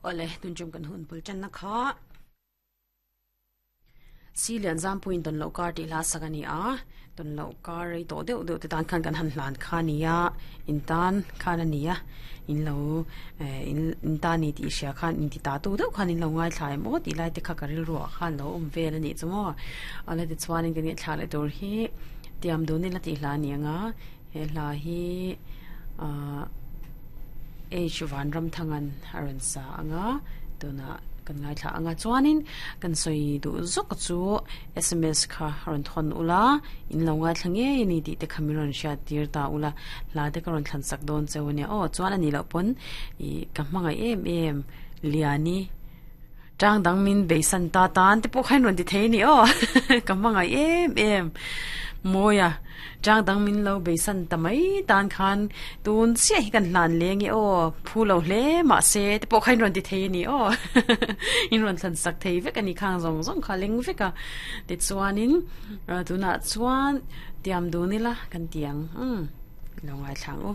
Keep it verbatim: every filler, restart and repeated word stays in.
Ole tun chum kan hun pul chan na kha si lian zam puin ton lo kar ti la sakani a ton lo kar rei to deuh deuh te tan khan kan han hlan kha nia in tan khan ania in lo in in ta ni ti sia khan in ti ta tu deuh khan in lo ngai thlai mo ti lai te kha karil ru khan lo um vel ani chumo ale ti chuan in kan thla le tur hi tiam du ni la ti hla ni anga he hla hi a H van ram thangan aran sa anga tuna kan ngai thla anga chuanin kan soi du zok chu S M S kha ron thon ula in lo ngai thlange ni ti te khamiron sha tir ta ula la te ka ron thlan sak don cheu ne o chuan ani lo pon i ka hmangai em em liani tang dang min beisan ta tan te pawh khain ron ti thei ni o ka hmangai em em moya tang dang min lo beisan tamai tan khan tun sia hi kan hlan leng e o phu lo hle ma se te pawh khain ron ti thei ni o in ron thlan sak thei vek ani khang zong zong kha leng veka ti chuanin tuna chuan tiam du ni la kan tiang um lo ngai thlang u.